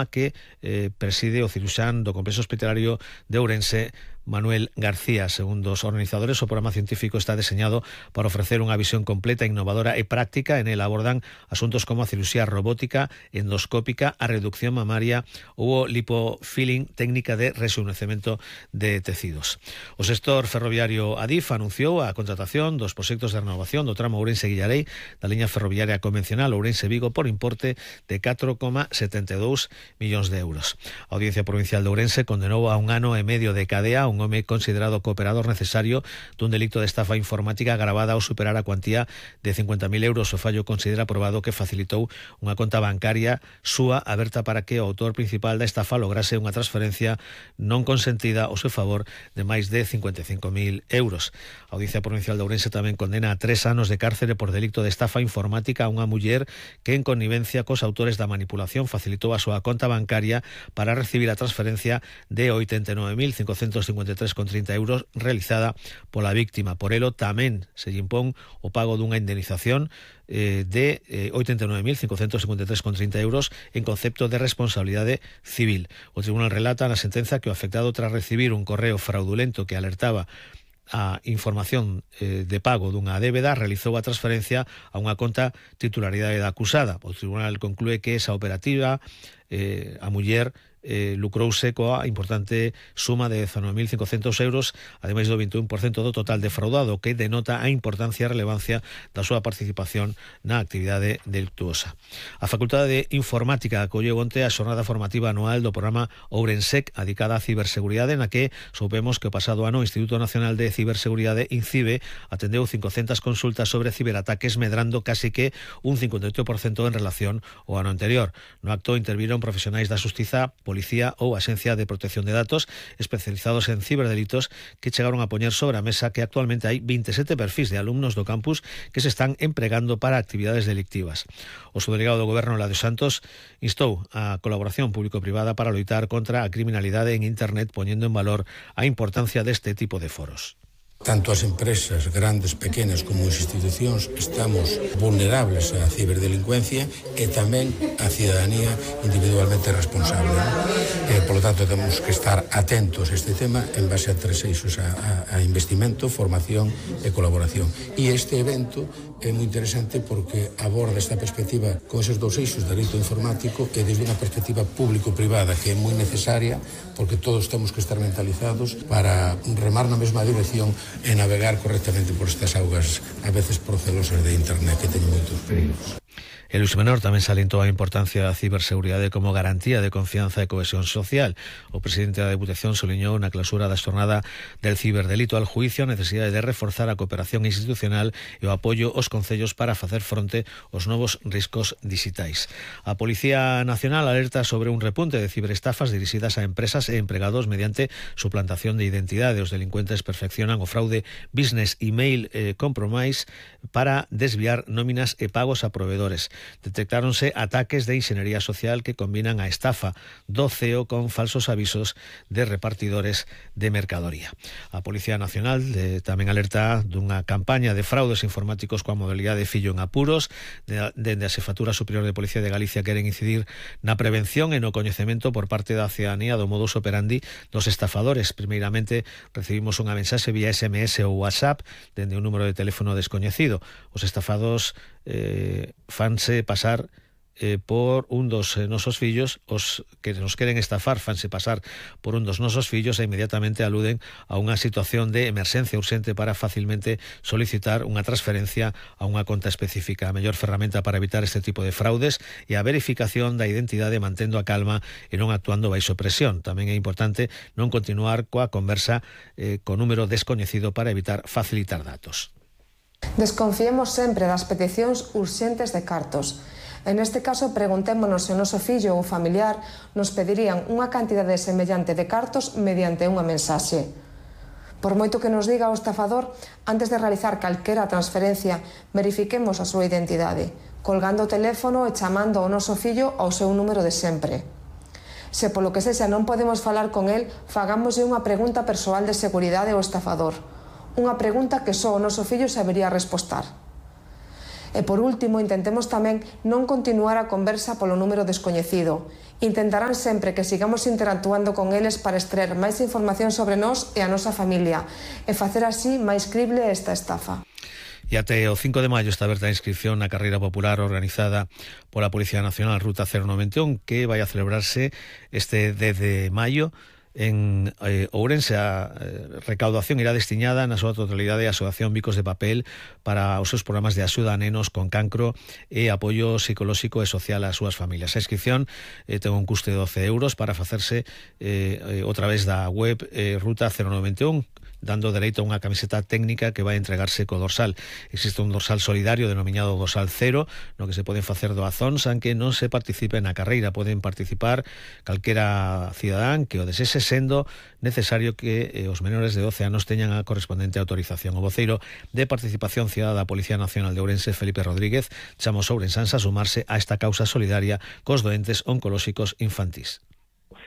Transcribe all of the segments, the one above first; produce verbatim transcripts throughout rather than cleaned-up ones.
que eh, preside o ciruxán do Complexo Hospitalario de Ourense, Manuel García. Segundo os organizadores, o programa científico está deseñado para ofrecer unha visión completa, innovadora e práctica. En el abordan asuntos como a cirurxía robótica, endoscópica, a reducción mamaria ou o lipofilling, técnica de rexuvenecemento de tecidos. O sector ferroviario Adif anunciou a contratación dos proxectos de renovación do tramo Ourense-Guillarei da liña ferroviaria convencional Ourense-Vigo por importe de catro coma setenta e dous millóns de euros. A Audiencia Provincial de Ourense condenou a un ano e medio de cadea un home considerado cooperador necesario dun delito de estafa informática agravada ao superar a cuantía de cincuenta mil euros. O fallo considera probado que facilitou unha conta bancaria súa aberta para que o autor principal da estafa lograse unha transferencia non consentida ao seu favor de máis de cincuenta e cinco mil euros. A Audiencia Provincial de Ourense tamén condena a tres anos de cárcere por delito de estafa informática a unha muller que, en connivencia cos autores da manipulación, facilitou a súa conta bancaria para recibir a transferencia de oitenta e nove mil cincocentos cincuenta e tres coma trinta euros realizada pola víctima. Por elo tamén se lle impón o pago dunha indemnización eh, de eh, oitenta e nove mil cincocentos cincuenta e tres coma trinta euros en concepto de responsabilidade civil. O tribunal relata na sentenza que o afectado, tras recibir un correo fraudulento que alertaba a información eh, de pago dunha débeda, realizou a transferencia a unha conta titularidade da acusada. O tribunal conclúe que esa operativa eh, a muller eh, lucrouse coa importante suma de dezanove mil cincocentos euros, ademais do veintiún por cento do total defraudado, que denota a importancia e relevancia da súa participación na actividade delictuosa. A Facultade de Informática acolleu onte a xornada formativa anual do programa Ourensec, adicada á ciberseguridade, na que soupemos que o pasado ano o Instituto Nacional de Ciberseguridade, INCIBE, atendeu cincocentas consultas sobre ciberataques, medrando casi que un cincuenta e oito por cento en relación ao ano anterior. No acto interviron profesionais da Xustiza, Policía ou Axencia de Protección de Datos especializados en ciberdelitos, que chegaron a poñer sobre a mesa que actualmente hai veintisiete perfis de alumnos do campus que se están empregando para actividades delictivas. O subdelegado do Goberno, Eladio Santos, instou a colaboración público-privada para loitar contra a criminalidade en Internet, poñendo en valor a importancia deste tipo de foros. Tanto as empresas grandes, pequenas, como as institucións estamos vulnerables á ciberdelincuencia e tamén a cidadanía individualmente responsable. Eh, por lo tanto, temos que estar atentos a este tema en base a tres eixos, a, a, a investimento, formación e colaboración. E este evento é moi interesante porque aborda esta perspectiva con esos dous eixos de delito informático e desde unha perspectiva público-privada que é moi necesaria, porque todos temos que estar mentalizados para remar na mesma dirección e navegar correctamente por estas augas a veces procelosas de Internet, que teñen moitos perigos. E Luís Menor tamén salientou a importancia da ciberseguridade como garantía de confianza e cohesión social. O presidente da Deputación soliñou na clausura da xornada del ciberdelito al juicio a necesidade de reforzar a cooperación institucional e o apoio aos concellos para facer fronte aos novos riscos digitais. A Policía Nacional alerta sobre un repunte de ciberestafas dirixidas a empresas e empregados mediante suplantación de identidade. Os delincuentes perfeccionan o fraude business email eh, compromise para desviar nóminas e pagos a proveedores. Detectáronse ataques de inxeniería social que combinan a estafa do C E O con falsos avisos de repartidores de mercadoría. A Policía Nacional de, tamén alerta dunha campaña de fraudes informáticos coa modalidade fillo en apuros. Dende a Xefatura Superior de Policía de Galicia queren incidir na prevención e no coñecemento por parte da cidadanía do modus operandi dos estafadores. Primeiramente recibimos unha mensaxe vía S M S ou WhatsApp dende un número de teléfono descoñecido. Os estafados eh, fanse pasar eh, por un dos eh, nosos fillos. Os que nos queren estafar fanse pasar por un dos nosos fillos e inmediatamente aluden a unha situación de emerxencia urxente para facilmente solicitar unha transferencia a unha conta específica. A mellor ferramenta para evitar este tipo de fraudes é a verificación da identidade mantendo a calma e non actuando baixo presión. Tamén é importante non continuar coa conversa eh, co número descoñecido para evitar facilitar datos. Desconfiemos sempre das peticións urxentes de cartos. En este caso, preguntémonos se o noso fillo ou familiar nos pedirían unha cantidade semellante de cartos mediante unha mensaxe. Por moito que nos diga o estafador, antes de realizar calquera transferencia, verifiquemos a súa identidade, colgando o teléfono e chamando ao noso fillo ao seu número de sempre. Se polo que sexa non podemos falar con el, fagámoslle unha pregunta persoal de seguridade ao estafador. Unha pregunta que só o noso fillo sabería respostar. E por último, intentemos tamén non continuar a conversa polo número descoñecido. Intentarán sempre que sigamos interactuando con eles para extraer máis información sobre nós e a nosa familia e facer así máis crible esta estafa. E até o cinco de maio está aberta a inscripción na carreira popular organizada pola Policía Nacional Ruta cero noventa e un, que vai a celebrarse este dez de maio en eh, Ourense. A eh, recaudación irá destinada na súa totalidade á Asociación Bicos de Papel para os seus programas de axuda a nenos con cancro e apoio psicolóxico e social ás súas familias. A inscripción eh, ten un custe de doce euros para facerse eh, eh, outra vez da web eh, Ruta cero noventa e un, dando dereito a unha camiseta técnica que vai entregarse co dorsal. Existe un dorsal solidario denominado dorsal cero, no que se poden facer doazóns, aunque non se participe na carreira. Poden participar calquera cidadán que o desese, sendo necesario que eh, os menores de doce anos teñan a correspondente autorización. O voceiro de Participación Cidadá da Policía Nacional de Ourense, Felipe Rodríguez, chama aos ourensáns a sumarse a esta causa solidaria cos doentes oncolóxicos infantís.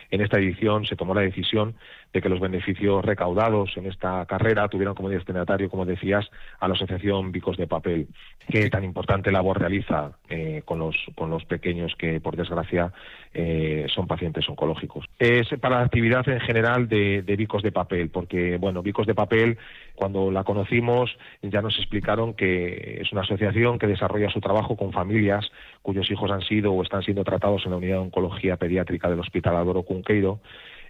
En esta edición se tomó la decisión de que los beneficios recaudados en esta carrera tuvieran como destinatario, como decías, a la Asociación Bicos de Papel, que tan importante labor realiza eh, con los con los pequeños que, por desgracia, eh, son pacientes oncológicos. Es para la actividad en general de, de Bicos de Papel, porque, bueno, Bicos de Papel, cuando la conocimos, ya nos explicaron que es una asociación que desarrolla su trabajo con familias cuyos hijos han sido o están siendo tratados en la unidad de oncología pediátrica del Hospital Álvaro Cunqueiro,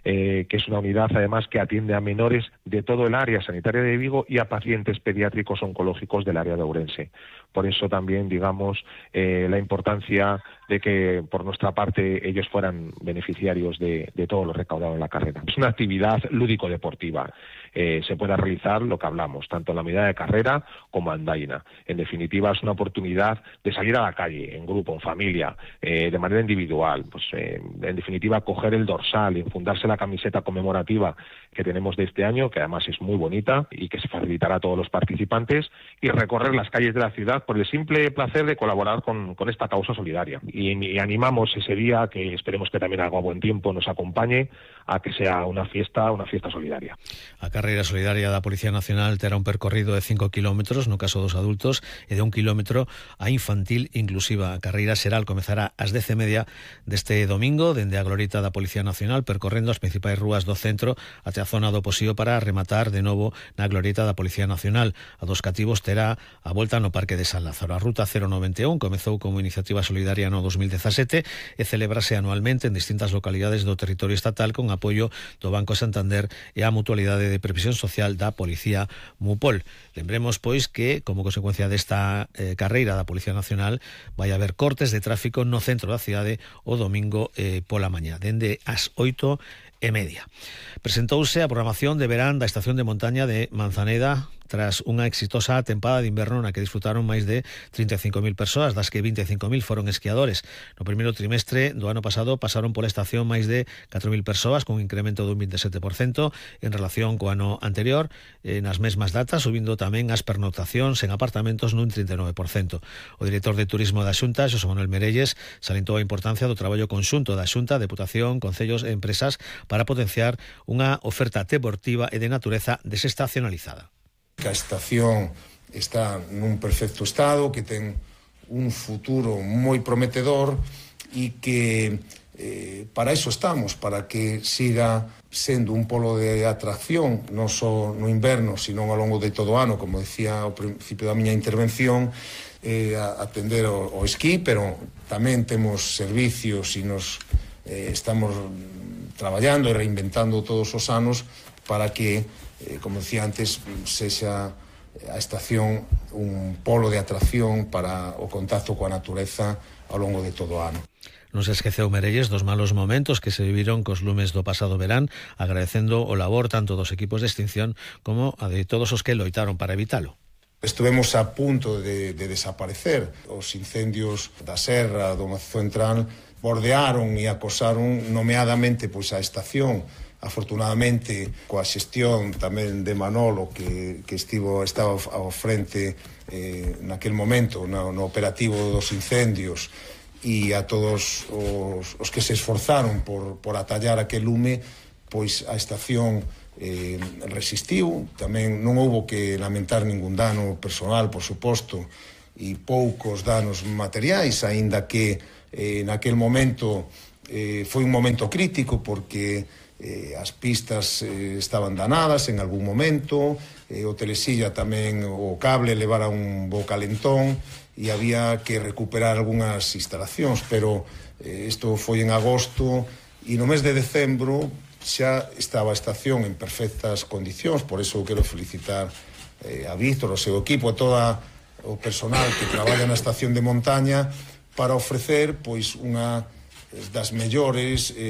Eh, que es una unidad además que atiende a menores de todo el área sanitaria de Vigo y a pacientes pediátricos oncológicos del área de Ourense. Por eso también, digamos, eh, la importancia de que por nuestra parte ellos fueran beneficiarios de, de todo lo recaudado en la carrera. Es una actividad lúdico-deportiva. Eh, se puede realizar lo que hablamos, tanto en la medida de carrera como andaina. En definitiva, es una oportunidad de salir a la calle, en grupo, en familia, eh, de manera individual. Pues, eh, en definitiva, coger el dorsal y enfundarse la camiseta conmemorativa que tenemos de este año, que además es muy bonita y que se facilitará a todos los participantes, y recorrer las calles de la ciudad por el simple placer de colaborar con, con esta causa solidaria. Y, y animamos ese día, que esperemos que también haga buen tiempo, nos acompañe, a que sea una fiesta, una fiesta solidaria. A carreira solidaria da Policía Nacional terá un percorrido de cinco kilómetros no caso dos adultos e de un kilómetro a infantil inclusiva. A carreira xeral comezará ás dez e media deste domingo dende a glorieta da Policía Nacional, percorrendo as principais rúas do centro até a zona do Posío para rematar de novo na glorieta da Policía Nacional. A dos cativos terá a volta no Parque de San Lázaro. A Ruta cero noventa e un comezou como iniciativa solidaria no dos mil dezasete e celebrase anualmente en distintas localidades do territorio estatal con apoio do Banco Santander e a Mutualidade de Previsión Social da Policía Mupol. Lembremos, pois, que como consecuencia desta eh, carreira da Policía Nacional vai haber cortes de tráfico no centro da cidade o domingo eh, pola mañá, dende as oito e media. Presentouse a programación de verán da estación de montaña de Manzaneda tras unha exitosa tempada de inverno na que disfrutaron máis de trinta e cinco mil persoas, das que vinte e cinco mil foron esquiadores. No primeiro trimestre do ano pasado pasaron pola estación máis de catro mil persoas, con un incremento dun vinte e sete por cento en relación co ano anterior, eh, nas mesmas datas, subindo tamén as pernoctacións en apartamentos nun trinta e nove por cento. O director de Turismo da Xunta, Xosé Manuel Merelles, salientou a importancia do traballo conxunto da Xunta, Deputación, concellos e empresas para potenciar unha oferta deportiva e de natureza desestacionalizada. A estación está nun perfecto estado, que ten un futuro moi prometedor e que eh, para eso estamos, para que siga sendo un polo de atracción non só no inverno, sino ao longo de todo o ano, como decía ao principio da miña intervención, eh, a atender o, o esquí, pero tamén temos servicios e nos eh, estamos traballando e reinventando todos os anos para que, eh, como decía antes, sexa a estación un polo de atracción para o contacto coa natureza ao longo de todo o ano. Non se esqueceu Merelles dos malos momentos que se viviron cos lumes do pasado verán, agradecendo o labor tanto dos equipos de extinción como a de todos os que loitaron para evitalo. Estuvemos a punto de, de desaparecer. Os incendios da Serra, do Macizo Central, bordearon e acosaron nomeadamente pois a estación. Afortunadamente, coa xestión tamén de Manolo, que, que estivo, estaba ao frente eh, naquel momento no, no operativo dos incendios, e a todos os, os que se esforzaron por, por atallar aquel lume, pois a estación eh, resistiu. Tamén non houbo que lamentar ningún dano personal, por suposto, e poucos danos materiais, aínda que eh, naquel momento eh, foi un momento crítico porque eh, as pistas eh, estaban danadas en algún momento, eh, o telesilla tamén, o cable levara un bo calentón e había que recuperar algunhas instalacións, pero eh, isto foi en agosto e no mes de decembro xa estaba a estación en perfectas condicións. Por iso quero felicitar eh, a Víctor, o seu equipo, a toda o personal que traballa na estación de montaña para ofrecer pois unha das mellores eh,